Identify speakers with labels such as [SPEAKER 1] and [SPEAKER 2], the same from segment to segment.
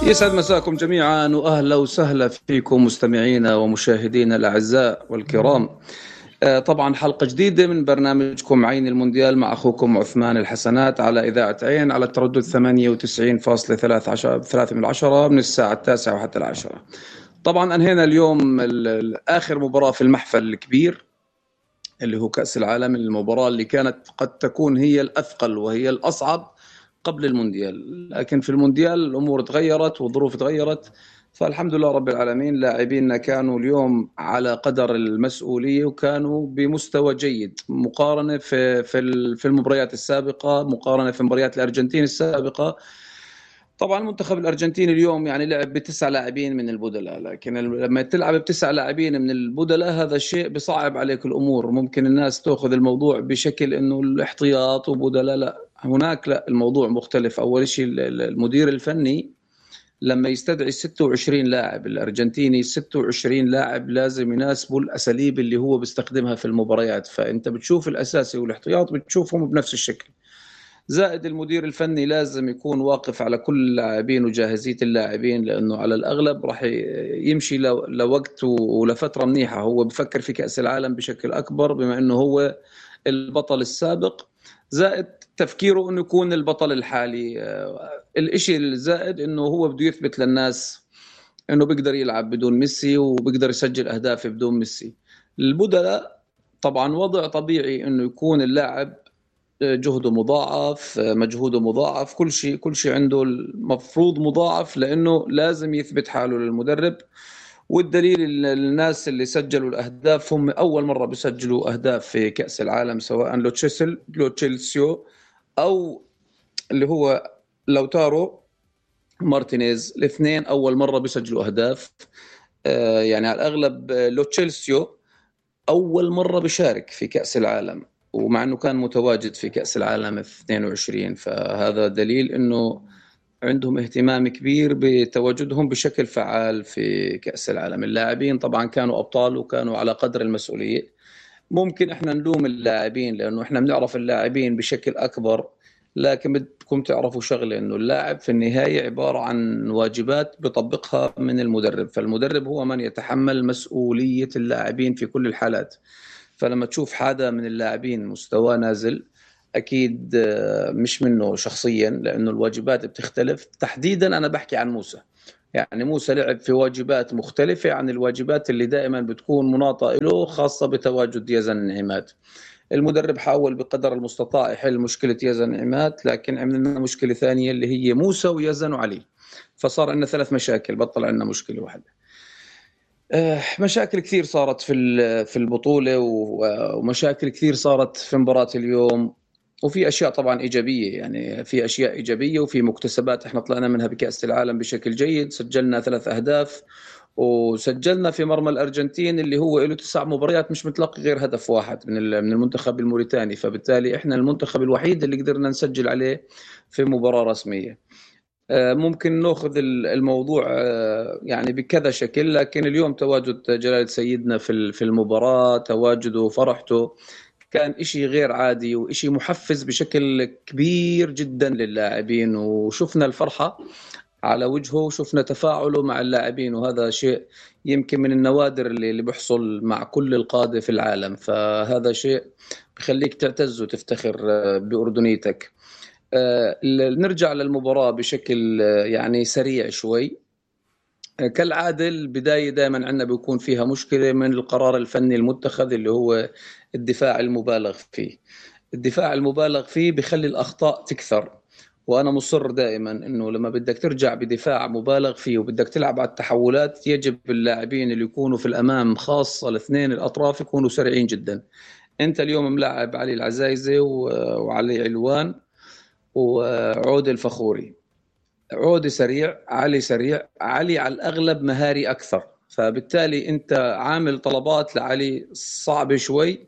[SPEAKER 1] يسعد مساكم جميعا وأهلا وسهلا فيكم مستمعينا ومشاهدينا الأعزاء والكرام. طبعا حلقة جديدة من برنامجكم عين المونديال مع أخوكم عثمان الحسنات على إذاعة عين على التردد 98.3 من الساعة 9 وحتى 10. طبعا أنهينا اليوم آخر مباراة في المحفل الكبير اللي هو كأس العالم، المباراة اللي كانت قد تكون هي الأثقل وهي الأصعب قبل المونديال، لكن في المونديال الأمور تغيرت والظروف تغيرت، فالحمد لله رب العالمين. لاعبينا كانوا اليوم على قدر المسؤولية وكانوا بمستوى جيد مقارنة في المباريات السابقة، مقارنة في مباريات الأرجنتين السابقة. طبعا المنتخب الأرجنتيني اليوم يعني لعب ب9 لاعبين من البدلاء، لكن لما تلعب ب9 لاعبين من البدلاء هذا الشيء بصعب عليك الأمور. ممكن الناس تأخذ الموضوع بشكل إنه الاحتياط وبدلاء، لا، هناك لا، الموضوع مختلف. أول شيء المدير الفني لما يستدعي 26 لاعب، الأرجنتيني 26 لاعب لازم يناسبوا الأساليب اللي هو بيستخدمها في المباريات، فأنت بتشوف الأساسي والاحتياط بتشوفهم بنفس الشكل. زائد المدير الفني لازم يكون واقف على كل اللاعبين وجاهزية اللاعبين، لأنه على الأغلب راح يمشي لوقت ولفترة منيحة. هو بفكر في كأس العالم بشكل أكبر بما أنه هو البطل السابق، زائد تفكيره أنه يكون البطل الحالي. الإشي الزائد أنه هو بده يثبت للناس أنه بيقدر يلعب بدون ميسي وبيقدر يسجل أهداف بدون ميسي. البدلاء طبعا وضع طبيعي أنه يكون اللاعب جهده مضاعف، مجهوده مضاعف، كل شيء عنده المفروض مضاعف، لأنه لازم يثبت حاله للمدرب. والدليل الناس اللي سجلوا الأهداف هم أول مرة بيسجلوا أهداف في كأس العالم، سواء لوتشيلسيو أو اللي هو لوتارو مارتينيز، الاثنين أول مرة بيسجلوا أهداف. يعني على الأغلب لوتشيلسيو أول مرة بيشارك في كأس العالم، ومع أنه كان متواجد في كأس العالم 22، فهذا دليل أنه عندهم اهتمام كبير بتواجدهم بشكل فعال في كأس العالم. اللاعبين طبعا كانوا أبطال وكانوا على قدر المسؤولية. ممكن احنا نلوم اللاعبين لأنه احنا بنعرف اللاعبين بشكل أكبر، لكن بدكم تعرفوا شغلة، أنه اللاعب في النهاية عبارة عن واجبات بيطبقها من المدرب، فالمدرب هو من يتحمل مسؤولية اللاعبين في كل الحالات. فلما تشوف حدا من اللاعبين مستواه نازل، أكيد مش منه شخصيا، لأنه الواجبات بتختلف. تحديدا أنا بحكي عن موسى، يعني موسى لعب في واجبات مختلفة عن الواجبات اللي دائما بتكون مناطة له، خاصة بتواجد يزن عماد. المدرب حاول بقدر المستطاع يحل مشكلة يزن عماد، لكن عملنا مشكلة ثانية اللي هي موسى ويزن وعلي، فصار عندنا 3 مشاكل، بطل عندنا مشكلة واحدة. مشاكل كثير صارت في البطولة، ومشاكل كثير صارت في مباراة اليوم، وفي أشياء طبعا إيجابية، يعني في أشياء إيجابية وفي مكتسبات إحنا طلعنا منها بكأس العالم بشكل جيد. سجلنا 3 أهداف، وسجلنا في مرمى الأرجنتين اللي هو له 9 مباريات مش متلقي غير هدف واحد من المنتخب الموريتاني، فبالتالي إحنا المنتخب الوحيد اللي قدرنا نسجل عليه في مباراة رسمية. ممكن نأخذ الموضوع يعني بكذا شكل، لكن اليوم تواجد جلالة سيدنا في المباراة، تواجده وفرحته كان إشي غير عادي وإشي محفز بشكل كبير جدا للاعبين، وشفنا الفرحة على وجهه وشفنا تفاعله مع اللاعبين، وهذا شيء يمكن من النوادر اللي بيحصل مع كل القادة في العالم، فهذا شيء بخليك تعتز وتفتخر بأردنيتك. نرجع للمباراة بشكل يعني سريع شوي. كالعادة البداية دائما عندنا بيكون فيها مشكلة من القرار الفني المتخذ اللي هو الدفاع المبالغ فيه. الدفاع المبالغ فيه بيخلي الأخطاء تكثر، وأنا مصر دائما أنه لما بدك ترجع بدفاع مبالغ فيه وبدك تلعب على التحولات، يجب اللاعبين اللي يكونوا في الأمام خاصة الاثنين الأطراف يكونوا سريعين جدا. أنت اليوم ملاعب علي العزايزة وعلي علوان وعود الفخوري، عودي سريع، علي سريع، علي على الأغلب مهاري أكثر، فبالتالي أنت عامل طلبات لعلي صعبة شوي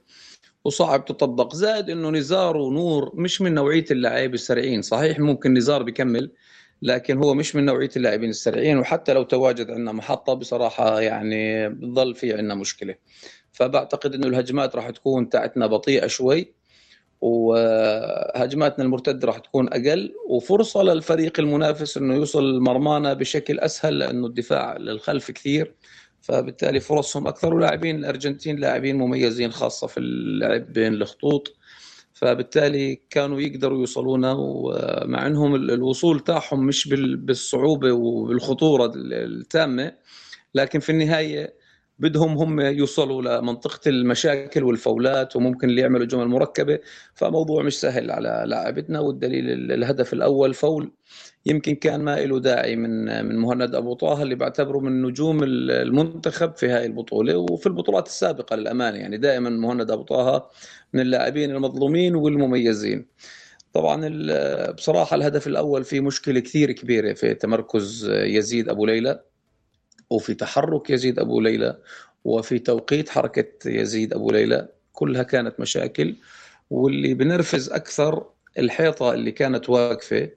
[SPEAKER 1] وصعب تطبق. زائد أنه نزار ونور مش من نوعية اللاعبين السريعين، صحيح ممكن نزار بيكمل لكن هو مش من نوعية اللاعبين السريعين، وحتى لو تواجد عندنا محطة بصراحة يعني بضل في عندنا مشكلة. فبعتقد أنه الهجمات راح تكون تاعتنا بطيئة شوي، وهجماتنا المرتدة راح تكون أقل، وفرصة للفريق المنافس إنه يوصل مرمانا بشكل أسهل لأنه الدفاع للخلف كثير، فبالتالي فرصهم أكثر. ولاعبين الأرجنتين لاعبين مميزين خاصة في اللعب بين الخطوط، فبالتالي كانوا يقدروا يوصلونا، ومع أنهم الوصول تاعهم مش بالصعوبة وبالخطورة التامة، لكن في النهاية بدهم هم يوصلوا لمنطقة المشاكل والفاولات، وممكن اللي يعملوا جمل مركبة، فموضوع مش سهل على لاعبتنا. والدليل الهدف الأول فاول يمكن كان ما له داعي من مهند أبو طه، اللي بعتبره من نجوم المنتخب في هاي البطولة وفي البطولات السابقة للأمانة. يعني دائما مهند أبو طه من اللاعبين المظلومين والمميزين. طبعا بصراحة الهدف الأول فيه مشكلة كثير كبيرة في تمركز يزيد أبو ليلى، وفي تحرك يزيد أبو ليلى، وفي توقيت حركة يزيد أبو ليلى، كلها كانت مشاكل. واللي بنرفز أكثر الحيطة اللي كانت واقفة،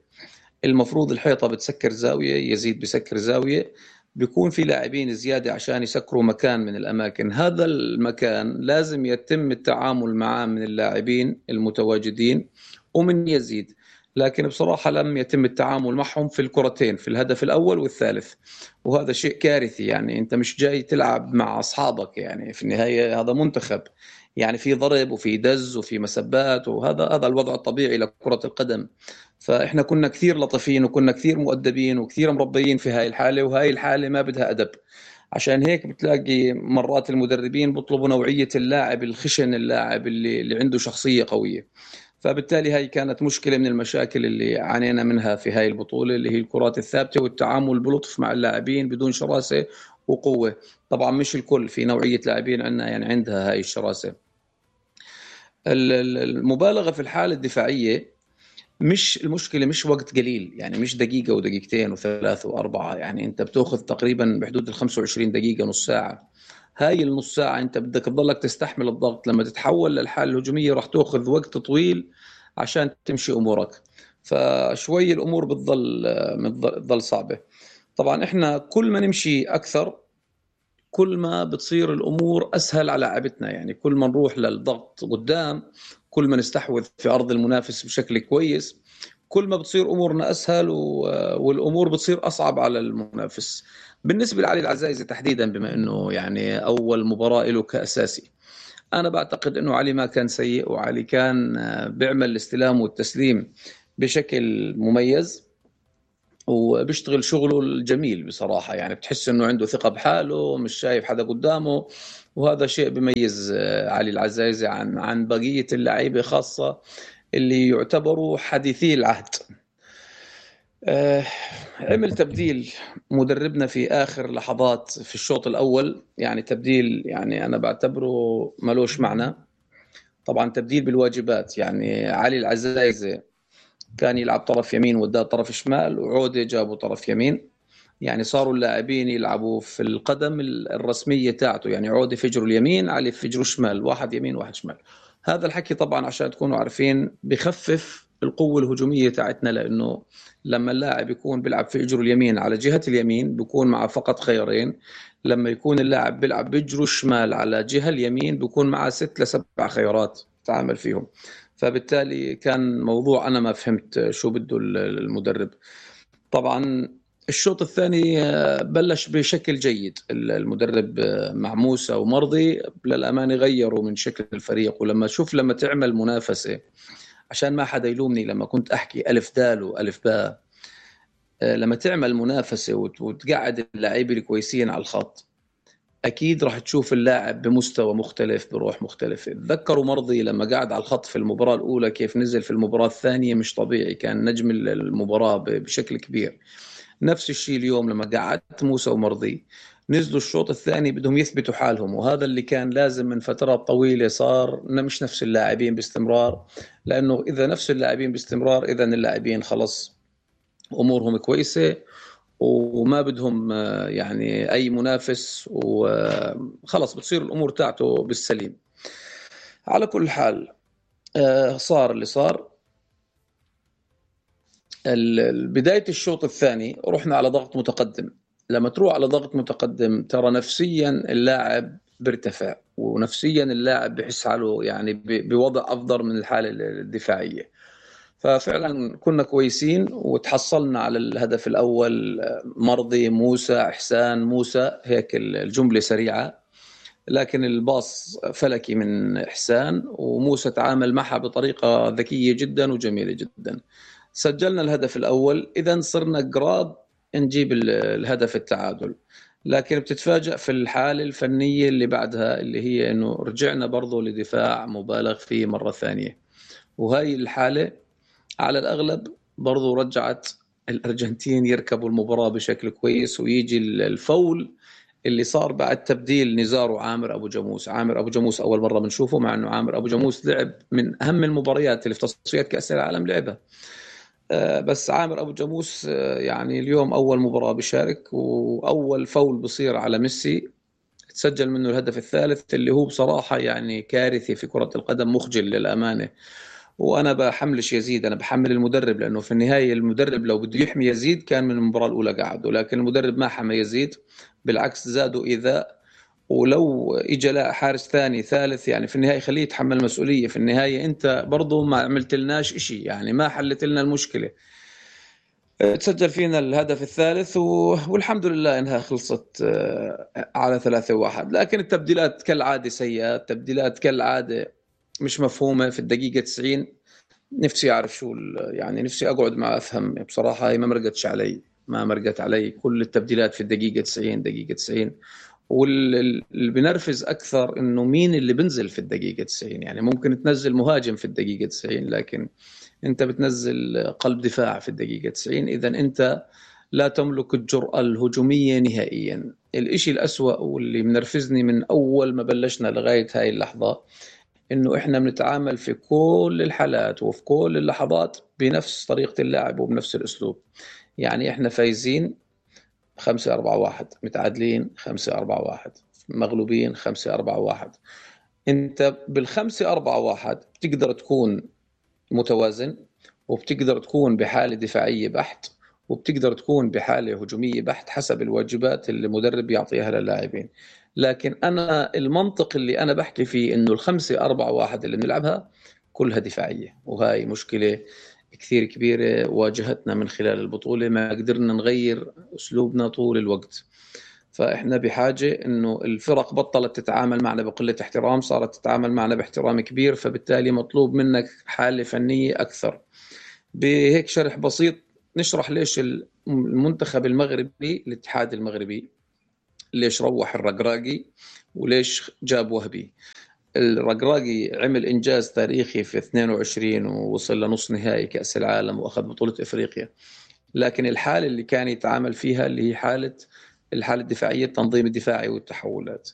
[SPEAKER 1] المفروض الحيطة بتسكر زاوية، يزيد بسكر زاوية، بيكون في لاعبين زيادة عشان يسكروا مكان من الأماكن. هذا المكان لازم يتم التعامل معه من اللاعبين المتواجدين ومن يزيد، لكن بصراحة لم يتم التعامل معهم في الكرتين، في الهدف الأول والثالث، وهذا شيء كارثي. يعني أنت مش جاي تلعب مع أصحابك، يعني في النهاية هذا منتخب، يعني في ضرب وفي دز وفي مسبات، وهذا الوضع الطبيعي لكرة القدم. فإحنا كنا كثير لطيفين وكنا كثير مؤدبين وكثير مربيين في هاي الحالة، وهاي الحالة ما بدها أدب. عشان هيك بتلاقي مرات المدربين بيطلبوا نوعية اللاعب الخشن، اللاعب اللي عنده شخصية قوية. فبالتالي هاي كانت مشكلة من المشاكل اللي عانينا منها في هاي البطولة، اللي هي الكرات الثابتة والتعامل بلطف مع اللاعبين بدون شراسة وقوة. طبعا مش الكل، في نوعية لاعبين عندنا يعني عندها هاي الشراسة. المبالغة في الحالة الدفاعية، مش المشكلة مش وقت قليل، يعني مش دقيقة ودقيقتين وثلاثة وأربعة، يعني أنت بتأخذ تقريبا بحدود 25 دقيقة، نص ساعة. هاي النص ساعة أنت بدك تضلك تستحمل الضغط، لما تتحول للحالة الهجومية راح تأخذ وقت طويل عشان تمشي أمورك، فشوي الأمور بتضل صعبة. طبعا إحنا كل ما نمشي أكثر كل ما بتصير الأمور أسهل على لاعبتنا، يعني كل ما نروح للضغط قدام، كل ما نستحوذ في أرض المنافس بشكل كويس، كل ما بتصير أمورنا أسهل والأمور بتصير أصعب على المنافس. بالنسبة لعلي العزايزي تحديدا، بما أنه يعني أول مباراة له كأساسي، أنا بعتقد أنه علي ما كان سيء، وعلي كان بيعمل الاستلام والتسليم بشكل مميز، وبيشتغل شغله الجميل بصراحة. يعني بتحس انه عنده ثقة بحاله، مش شايف حدا قدامه، وهذا شيء بيميز علي العزايزي عن بقية اللعيبة، خاصة اللي يعتبروا حديثي العهد. عمل تبديل مدربنا في آخر لحظات في الشوط الأول، يعني تبديل يعني أنا بعتبره ملوش معنى. طبعا تبديل بالواجبات، يعني علي العزايزي كان يلعب طرف يمين وده طرف شمال، وعودة جابوا طرف يمين، يعني صاروا اللاعبين يلعبوا في القدم الرسمية تاعته، يعني عودة فجره اليمين، علي فجره الشمال، واحد يمين واحد شمال. هذا الحكي طبعا عشان تكونوا عارفين بخفف القوة الهجومية تاعتنا، لأنه لما اللاعب يكون بيلعب في اجره اليمين على جهة اليمين بيكون معه فقط خيارين، لما يكون اللاعب بيلعب بجره الشمال على جهة اليمين بيكون معه 6 ل7 خيارات تعامل فيهم. فبالتالي كان موضوع أنا ما فهمت شو بده المدرب. طبعا الشوط الثاني بلش بشكل جيد المدرب مع موسى ومرضي، للأمانة غيروا من شكل الفريق. ولما شوف لما تعمل منافسة، عشان ما حدا يلومني لما كنت أحكي ألف دال وألف باء، لما تعمل منافسة وتقعد اللاعبين الكويسين على الخط، أكيد راح تشوف اللاعب بمستوى مختلف بروح مختلفة. تذكروا مرضي لما قعد على الخط في المباراة الأولى كيف نزل في المباراة الثانية، مش طبيعي، كان نجم المباراة بشكل كبير. نفس الشيء اليوم لما قعدت موسى ومرضي نزلوا الشوط الثاني بدهم يثبتوا حالهم، وهذا اللي كان لازم من فترات طويلة. صار مش نفس اللاعبين باستمرار، لأنه إذا نفس اللاعبين باستمرار إذا اللاعبين خلص أمورهم كويسة وما بدهم يعني أي منافس، وخلص بتصير الأمور تاعته بالسليم. على كل حال صار اللي صار. بداية الشوط الثاني رحنا على ضغط متقدم. لما تروح على ضغط متقدم ترى نفسيا اللاعب بيرتفع، ونفسيا اللاعب بحس حاله يعني بوضع أفضل من الحالة الدفاعية. ففعلا كنا كويسين وتحصلنا على الهدف الأول. مرضي موسى إحسان موسى، هيك الجملة سريعة، لكن الباص فلكي من إحسان، وموسى تعامل معها بطريقة ذكية جدا وجميلة جدا. سجلنا الهدف الأول، إذن صرنا قراب نجيب الهدف التعادل. لكن بتتفاجأ في الحالة الفنية اللي بعدها، اللي هي إنه رجعنا برضو لدفاع مبالغ فيه مرة ثانية، وهاي الحالة على الأغلب برضو رجعت الأرجنتين يركبوا المباراة بشكل كويس، ويجي الفول اللي صار بعد تبديل نزار وعامر أبو جاموس. عامر أبو جاموس أول مرة بنشوفه، مع أنه عامر أبو جاموس لعب من أهم المباريات اللي في تصفيات كأس العالم لعبها، بس عامر أبو جاموس يعني اليوم أول مباراة بيشارك، وأول فول بصير على ميسي تسجل منه الهدف الثالث، اللي هو بصراحة يعني كارثي في كرة القدم، مخجل للأمانة. وأنا بحملش يزيد، أنا بحمل المدرب، لأنه في النهاية المدرب لو بده يحمي يزيد كان من المباراة الأولى قعده، لكن المدرب ما حمى يزيد، بالعكس زادوا إيذاء. ولو إجا لا حارس ثاني ثالث، يعني في النهاية خليه يتحمل مسؤولية. في النهاية أنت برضو ما عملت لناش إشي، يعني ما حلت لنا المشكلة. تسجل فينا الهدف الثالث والحمد لله إنها خلصت على 3-1. لكن التبديلات كالعادة سيئة، التبديلات كالعادة مش مفهومة في الدقيقة 90. نفسي أعرف شو يعني نفسي أقعد مع أفهم بصراحة. هي ما مرقت علي كل التبديلات في الدقيقة 90 دقيقة 90. واللي بنرفز أكثر إنه مين اللي بنزل في الدقيقة 90. يعني ممكن تنزل مهاجم في الدقيقة 90، لكن أنت بتنزل قلب دفاع في الدقيقة 90، إذن أنت لا تملك الجرأة الهجومية نهائيا. الإشي الأسوأ واللي منرفزني من أول ما بلشنا لغاية هاي اللحظة، إنه إحنا بنتعامل في كل الحالات وفي كل اللحظات بنفس طريقة اللعب وبنفس الأسلوب. يعني إحنا فايزين 5-4-1، متعادلين 5-4-1، مغلوبين 5-4-1. أنت بال5-4-1 بتقدر تكون متوازن، وبتقدر تكون بحالة دفاعية بحت، وبتقدر تكون بحالة هجومية بحت حسب الواجبات اللي المدرب يعطيها للاعبين. لكن أنا المنطق اللي أنا بحكي فيه إنه 5-4-1 اللي بنلعبها كلها دفاعية، وهاي مشكلة كثير كبيرة واجهتنا من خلال البطولة. ما قدرنا نغير أسلوبنا طول الوقت. فإحنا بحاجة إنه الفرق بطلت تتعامل معنا بقلة احترام، صارت تتعامل معنا باحترام كبير، فبالتالي مطلوب منك حالة فنية أكثر. بهيك شرح بسيط نشرح ليش المنتخب المغربي، الاتحاد المغربي، ليش روح الرقراقي وليش جاب وهبي. الرقراقي عمل إنجاز تاريخي في 22 ووصل لنص نهائي كأس العالم وأخذ بطولة إفريقيا، لكن الحالة اللي كان يتعامل فيها اللي هي الحالة الدفاعية، التنظيم الدفاعي والتحولات.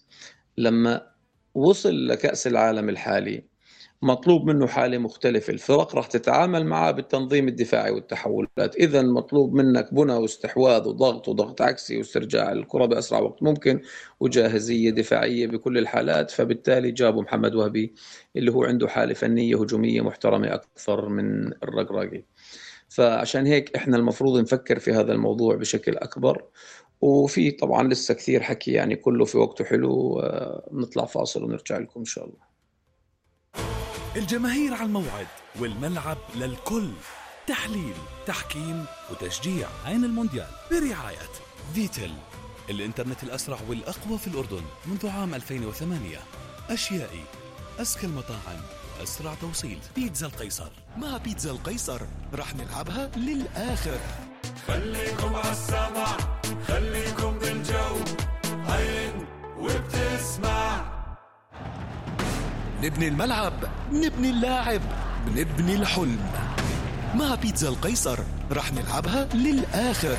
[SPEAKER 1] لما وصل لكأس العالم الحالي مطلوب منه حالة مختلفة، الفرق راح تتعامل معه بالتنظيم الدفاعي والتحولات. إذا مطلوب منك بنى واستحواذ وضغط عكسي واسترجاع الكرة بأسرع وقت ممكن، وجاهزية دفاعية بكل الحالات. فبالتالي جابوا محمد وهبي اللي هو عنده حالة فنية هجومية محترمة أكثر من الرقراقي. فعشان هيك إحنا المفروض نفكر في هذا الموضوع بشكل أكبر. وفي طبعا لسه كثير حكي، يعني كله في وقته حلو. نطلع فاصل ونرجع لكم إن شاء الله.
[SPEAKER 2] الجماهير على الموعد والملعب للكل، تحليل، تحكيم وتشجيع. عين المونديال برعاية فيتل، الإنترنت الأسرع والأقوى في الأردن منذ عام 2008. أشيائي، أزكى المطاعم، أسرع توصيل. بيتزا القيصر. مع بيتزا القيصر رح نلعبها للآخر.
[SPEAKER 3] خليكم عالسمع، خليكم بالجو، عين وبتسمع.
[SPEAKER 2] نبني الملعب، نبني اللاعب، نبني الحلم. مع بيتزا القيصر رح نلعبها للآخر.